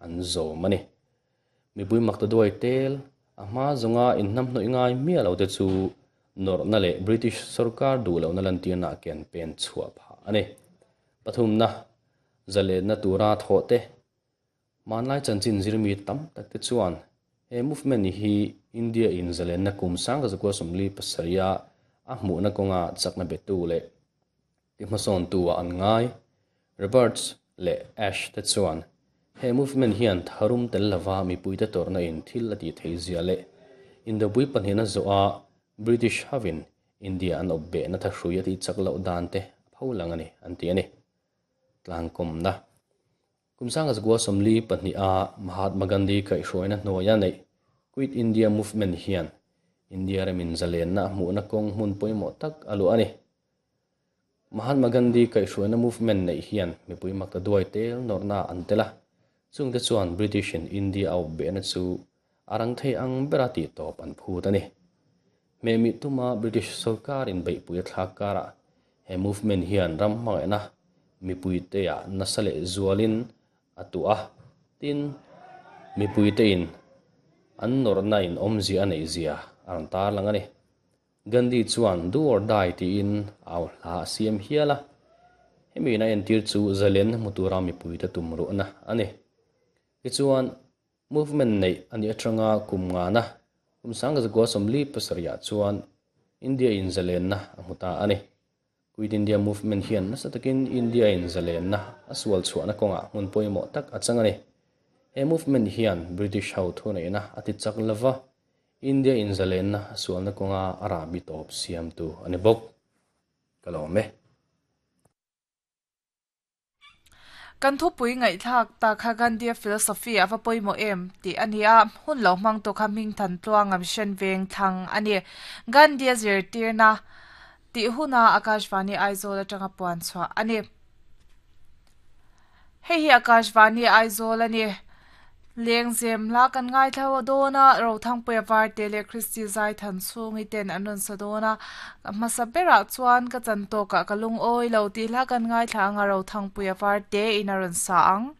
an zawm a ni. Mipui maktaduai tel a hma zawnga inhnamhnawih ngai miah lo te chu nawrhna leh British sorkar duh lohna lantirna a ken pen chhuah phah a ni. Pathumna, zalenna tura thawh te. Hmanlai chanchin zirmi tam tak te chuan he movement hi India in zalenna kum 1947 a a hmuhna kawnga chakna betu leh tihmasawntu ah an ngai. Roberts leh Ash te chuan he movement hian tharum tel lova mipuite tawrhna in thil a tih theih zia leh Indopui pahnihna zawh a British hovin India an awp behna thahrui a tih chak loh dan te a pho lang a ni an ti a ni. Tlangkawmna. Kum 1942 a Mahatma Gandhi kaihhruaina hnuaia neih Quit India Movement hian India ramin zalenna a hmuhna kawng hmun pawimawh tak a luah a ni. Mahatma Gandhi kaihhruaina movement neih hian mipui makta duai tel nawrhna an tel a, chungte chuan British in India a awp behna chu a rang thei ang bera tih tawp an phut a ni. Hmehmih tuma British sorkar in beihpui a thlak karah he movement hian ram hmangaihna mipuite ah nasa leh zualin a tuah a, tin, mipuite in an nawrhna in awmzia a neih zia a rawn tarlang a ni. Gandhi chuan Do or Die tiin au hla a siam hial a, hemi in a entir chu zalen hmu tura mipuite tum ruhna a ni. Tichuan, movement neih a nih atanga kum ngana kum 1947 ah chuan India in zalenna a hmu ta a ni. Quit India Movement hian nasa takin India in zalenna a sual chhuahna kawngah hmun pawimawh tak a chang a ni. He movement hian British ho thuneihna a ti chak lova, India in zalenna a sualna kawnga a rahbi tawp siamtu a ni bawk. Ka lawm e. Kan thupui ngaihthlak tak kha Gandhi-a philosophy a va pawimawh em tih a ni a, hun lo hmang tu kha hming than tluang a mission veng thlang a ni. Gandhi-a zirtirna tih huna Akashvani Aizawl atanga puan chhuah a ni. Hei hi Akashvani Aizawl a ni. Lengzem hla kan ngaithla dawn a, Rothangpuia Varte leh Christy Zaithan chhungi ten an rawn sa dawn a, hmasa berah chuan ka chan tawkah ka lungawi lo tih hla kan ngaithla ang a, Rothangpuia Varte in a rawn sa ang.